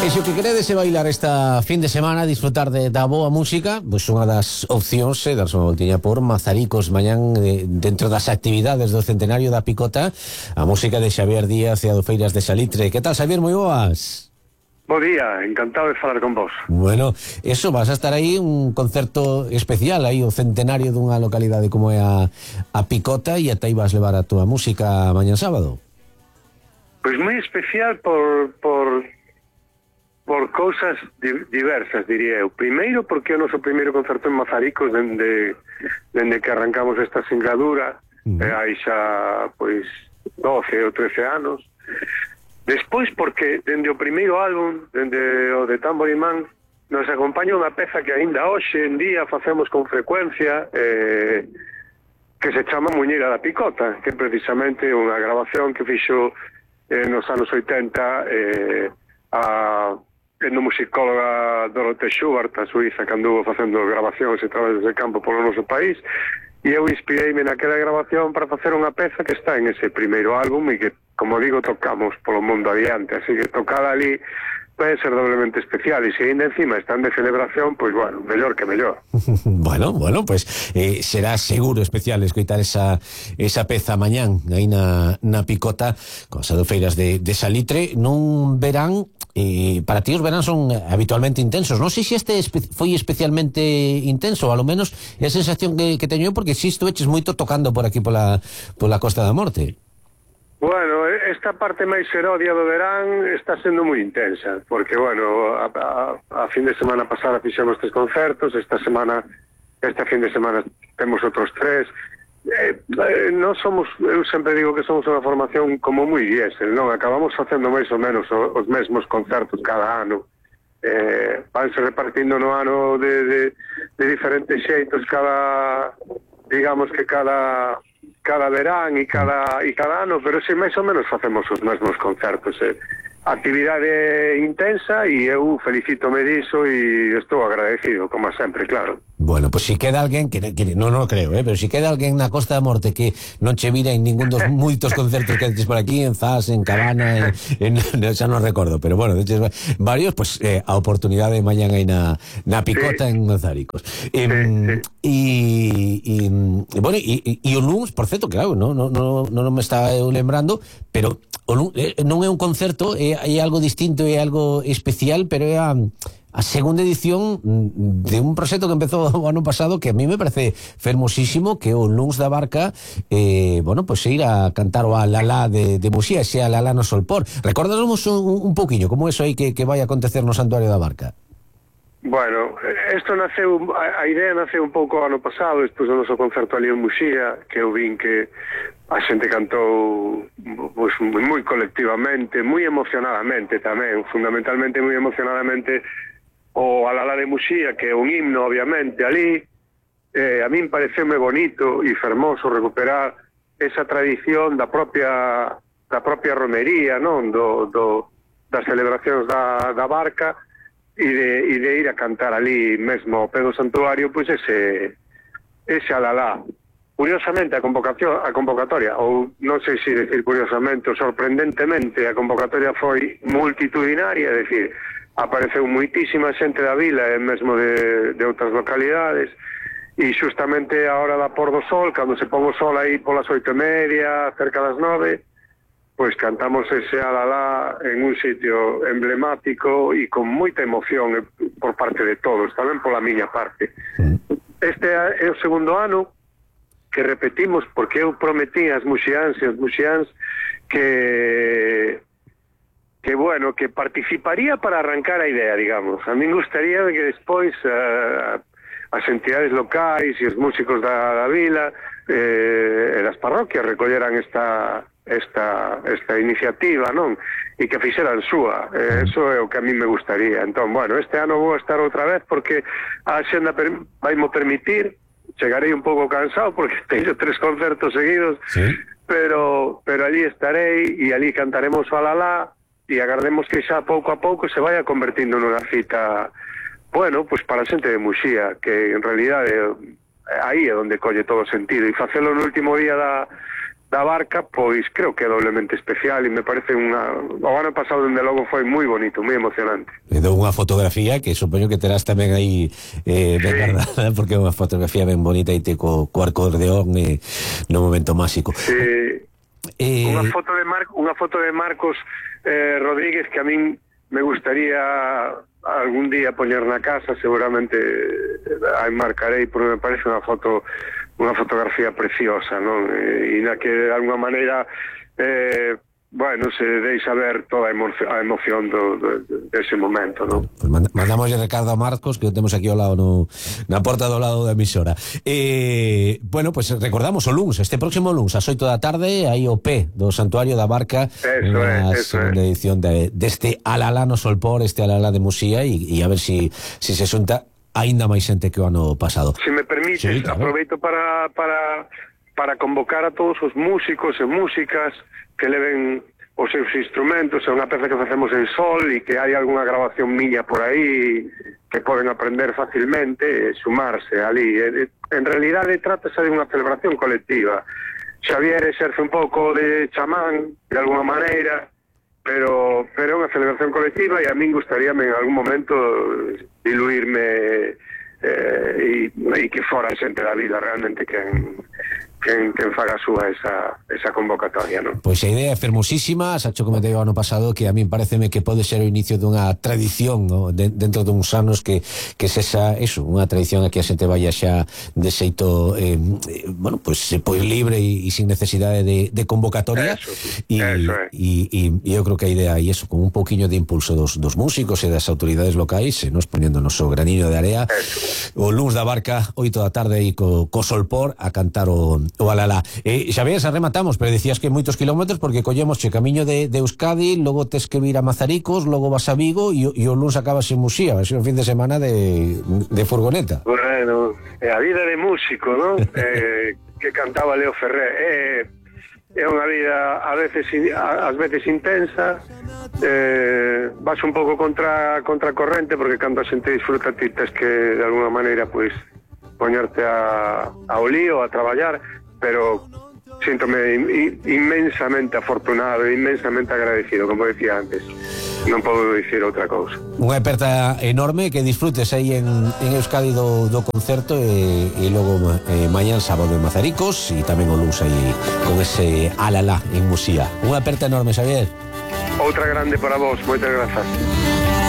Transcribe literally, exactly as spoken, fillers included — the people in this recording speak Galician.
E se o que queredes é bailar esta fin de semana, disfrutar de, da boa música, pois unha das opcións é darse unha voltiña por Mazaricos mañán, eh, dentro das actividades do centenario da Picota, a música de Xavier Díaz e a do Feiras de Salitre. Que tal, Xavier? Moi boas. Bo día, encantado de falar con vos. Bueno, eso, vas a estar aí un concerto especial, aí o centenario dunha localidade como é a, a Picota, e ata aí vas levar a túa música mañán sábado. Pois moi especial por por por cousas di, diversas, diría eu. Primeiro, porque é o noso primeiro concerto en Mazaricos dende, dende que arrancamos esta singladura, uh-huh. eh, hai xa, pois, doce ou trece anos. Despois, porque dende o primeiro álbum, dende o de Tamborimán, nos acompaña unha peza que aínda hoxe en día facemos con frecuencia, eh, que se chama Muñeira da Picota, que é precisamente unha grabación que fixo eh, nos anos oitenta eh, a etnomusicóloga Dorothea Schubert, a suiza, que anduvo facendo grabacións e traballos de campo polo noso país, e eu inspireime naquela grabación para facer unha peza que está en ese primeiro álbum e que, como digo, tocamos polo mundo adiante, así que tocada ali pode ser doblemente especial, e se ainda encima están de celebración, pois bueno, mellor que mellor. Bueno, bueno, pues eh, será seguro especial escoitar esa, esa peza mañán aí na, na Picota, con as adofeiras de, de Salitre, nun verán. Eh, para ti os verán son habitualmente intensos. Non sei se este espe foi especialmente intenso, ao lo menos é a sensación que, que teño eu, porque si estuveches moito tocando por aquí pola, pola Costa da Morte. Bueno, esta parte máis serodia do verán está sendo moi intensa, porque, bueno, a, a, a fin de semana pasada fixemos tres concertos, esta semana, esta fin de semana temos outros tres. Eh, eh, non somos, eu sempre digo que somos unha formación como moi diésel, non? Acabamos facendo máis ou menos o, os mesmos concertos cada ano, eh, vanse repartindo no ano de, de, de diferentes xeitos cada, digamos que cada cada verán e cada, e cada ano, pero si máis ou menos facemos os mesmos concertos, eh. Actividade intensa, e eu felicítome diso e estou agradecido, como sempre, claro. Bueno, pues si queda alguén que, que non no creo, eh, pero si queda alguén na Costa da Morte que non che vira en ningún dos moitos concertos que haces por aquí, en Zas, en Cabana, en, en, xa non recordo, pero bueno, deches varios, pues eh, a oportunidade de mañán aí na, na Picota, sí, en Mazaricos. Eh, sí, sí. E, e, bueno, e, e o luns, por certo, claro, non no, no, no, no me estaba eu lembrando, pero o luns, eh, non é un concerto, é, é algo distinto, é algo especial, pero é a a segunda edición de un proxecto que empezou o ano pasado, que a mí me parece fermosísimo, que o Luns da Barca, eh, bueno, pues ir a cantar o Alalá de, de Muxía, ese Alalá no Solpor. Recórdanos un, un pouquiño como eso aí que, que vai acontecer no Santuario da Barca. Bueno, isto naceu, a, a idea naceu un pouco ano pasado, despois do noso concerto ali en Muxía, que eu vin que a xente cantou pues, moi colectivamente, moi emocionadamente tamén, fundamentalmente moi emocionadamente, o Alalá de Muxía, que é un himno, obviamente, ali. Eh, a min pareceume bonito e fermoso recuperar esa tradición da propia da propia romería, non? Do, do, das celebracións da, da Barca, e de, e de ir a cantar ali mesmo ao pé do santuario, pois ese ese Alalá. Curiosamente, a convocación, a convocatoria, ou non sei se decir curiosamente ou sorprendentemente, a convocatoria foi multitudinaria, é dicir, apareceu moitísima xente da vila e mesmo de, de outras localidades, e xustamente a hora da por do sol, cando se pon o sol aí polas oito e media, cerca das nove, pois cantamos ese Alalá en un sitio emblemático e con moita emoción por parte de todos, tamén pola miña parte. Este é o segundo ano que repetimos, porque eu prometí as muxiáns e os muxiáns que que, bueno, que participaría para arrancar a idea, digamos. A min gustaría que despois uh, as entidades locais e os músicos da, da vila eh, e das parroquias recolleran esta esta esta iniciativa, non? E que fixeran súa. Eh, eso é o que a mí me gustaría. Entón, bueno, este ano vou estar outra vez porque a xenda per, vai mo permitir. Chegarei un pouco cansado porque teño tres concertos seguidos, ¿sí? pero pero allí estarei e allí cantaremos o Alalá e agardemos que xa pouco a pouco se vaya convertindo nunha cita, bueno, pues para a xente de Muxía, que en realidad é, aí é onde colle todo o sentido, e facelo no último día da da Barca, pois creo que é doblemente especial e me parece unha... O ano pasado, dende logo, foi moi bonito, moi emocionante. E dou unha fotografía que supoño que terás tamén aí eh, ben Sí. guardada, porque é unha fotografía ben bonita e te co, co acordeón e no momento máxico. Sí. Eh, Unha foto de Mar unha foto de Marcos eh, Rodríguez que a min me gustaría algún día poñer na casa, seguramente a enmarcarei, porque me parece unha foto unha fotografía preciosa, non? E, e na que de alguma maneira eh, bueno, se deixa ver toda a emoción, a emoción do, do, dese momento, non? Pues mandamos a Ricardo a Marcos, que o temos aquí ao lado no, na porta do lado da emisora. Eh, bueno, pues recordamos o luns, este próximo luns, ás oito da tarde, aí o P do Santuario da Barca, unha segunda edición de, deste Alalá no Solpor, este Alalá de Musía, e, e a ver si, si se xunta aínda máis xente que o ano pasado. Se me permites, Sí, claro. aproveito para, para, para convocar a todos os músicos e músicas que leven os seus instrumentos. É unha peza que facemos en sol e que hai algunha grabación miña por aí que poden aprender facilmente e sumarse ali. En realidade trátase de unha celebración colectiva. Xavier exerce un pouco de chamán de alguna maneira, pero pero é unha celebración colectiva e a min gustaríame en algún momento diluirme eh, e, e que fora xente da vida realmente quen, quen, quen faga súa esa, esa convocatoria, non? Pois a idea é fermosísima, xa cho comentei o ano pasado que a min pareceme que pode ser o inicio dunha tradición, no? de, dentro duns anos que, que sexa eso, unha tradición a que a xente vaya xa de xeito eh, bueno, pois, pois libre e, e sin necesidade de, de convocatoria e, e, e, e eu creo que a idea é eso, con un pouquiño de impulso dos, dos músicos e das autoridades locais e nos poñéndonos o graniño de area o luns da Barca, oito da tarde e co, co Solpor a cantar o o Alalá. Eh, xa ves, rematamos, pero decías que moitos kilómetros porque collemos che camiño de, de Euskadi, logo tes que vir a Mazaricos, logo vas a Vigo e, e o luns acabas en Musía, vai ser un fin de semana de, de furgoneta. Bueno, é a vida de músico, non? eh, que cantaba Leo Ferré. É, é unha vida a veces ás veces intensa, eh, vas un pouco contra contra corrente porque cando a xente disfruta ti tes que de alguna maneira pois poñerte a, ao lío, a traballar, pero síntome inmensamente afortunado e inmensamente agradecido, como decía antes. Non podo dicir outra cousa. Unha aperta enorme, que disfrutes aí en, en Euskadi do, do concerto e, e logo eh, mañán sábado en Mazaricos e tamén o luns aí con ese Alalá en Musía. Unha aperta enorme, Xavier. Outra grande para vos, moitas grazas.